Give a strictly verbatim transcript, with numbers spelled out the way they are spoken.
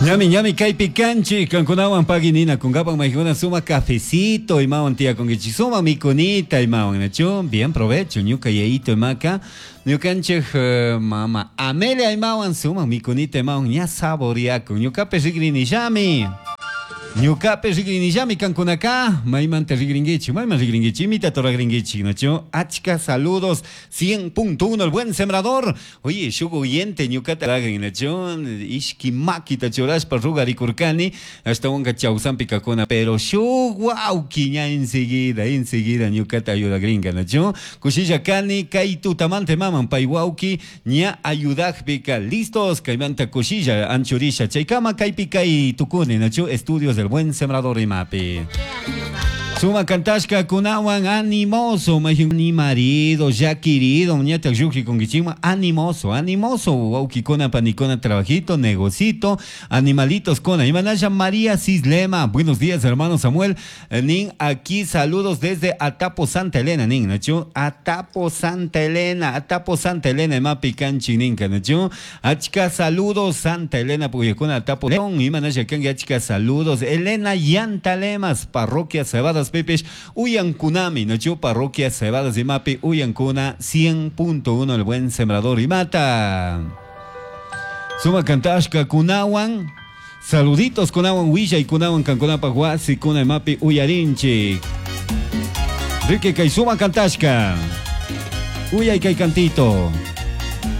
Ñami ñami kaypi kanchik kankunawan pagui ninakunkapak maykuna suma cafecito imawan tiyakunkichik suma mikunita imawan nachu bien provecho ñuka yayito imaka ñukanchik uh, mama Amelia imawan suma mikunita imawan ña saboreakun ñukapish rigrinillami ñukapish rigrinillami kankunaka maymanta rigrinkichik mayman rigrinkichik imita ruragrinkichik nachu achka saludos cien punto uno el buen sembrador. Oye, shuk oyente ñukata ragrin nachu ishki makita churashpa rugarikurkani ashtawanka chawsampi kakuna pero shuk wawki ña enseguida enseguida ñukata ayudagrinka nachu kushilla kani kay tutamanta maman pay wawki ña ayudakpika listos kaymanta kushilla anchurisha chaykama kaypi kay tukuni nachu estudios del buen sembrador imapi. Suma kantashka kunawan animoso, ni marido, ya querido, ñata yuki con animoso, animoso, wawkikuna panikuna trabajito, negocito, animalitos con Imanaya María Cislema. Buenos días, hermano Samuel. Nin, aquí saludos desde Atapo Santa Elena, nin, nachu, Atapo Santa Elena, Atapo Santa Elena, mapi kanchi ninka, nachu, achka saludos Santa Elena, puyakuna Atapo León, Imanaya kangi achka saludos, Elena Yantalemas, parroquia Cebadas Pepesh, Uyankunami, nachu, parroquia Cebadas imapi, Uyankuna, cien punto uno, el buen sembrador imata. Suma kantashka kunawan, saluditos kunawan willa y kunawan kankunapa wasi kuna imapi uyarinchik. Rique kay suma kantashka. Uyay kay cantito.